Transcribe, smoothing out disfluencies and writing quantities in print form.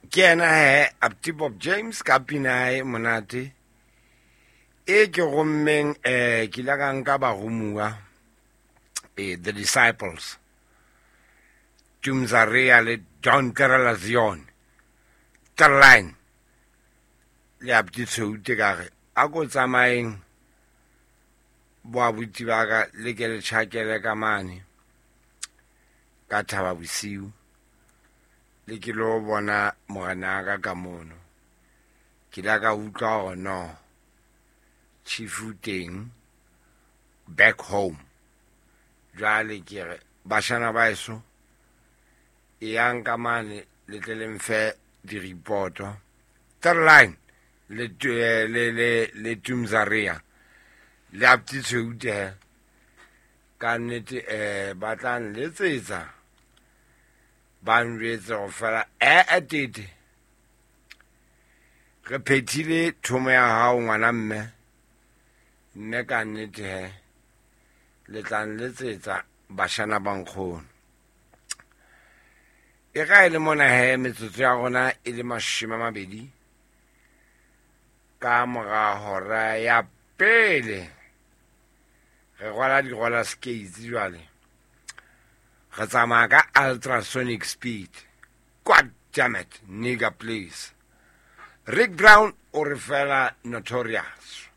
Ke yena he Apti Bob James ka pina ya hae monate e ke rommeng ke ile ka nka baromuwa the Disciples Tumzaria le Don Terelazion Terline le Apti Tsheute ka re a ko tsamaeng bo abuti ba ka le ke le tjhakele ka mane ka thaba bosiu le ke lo bona morena ka ka mono. Ke la ka utlwa hore no chief o teng back home. Jwale ke re bashana ba eso e yang ka mane le tle le mfe di-reporto. Third line le le le le Tumzaria le Apti Tsheute ka nnete ba tla nletsetsa ba njwetse go fela ee tete re phethile thomo ya hao ngwana mme mme ka nnete he le tla nletsetsa bashana ba nkgono. E ka e le mona he metsotso ya rona e le 20 ka mora hora ya pele. Re rwala di-roller skates jwale. Re tsamaya ka ultrasonic speed. God damn it, nigga, please. Rick Brown o re fela Notorious.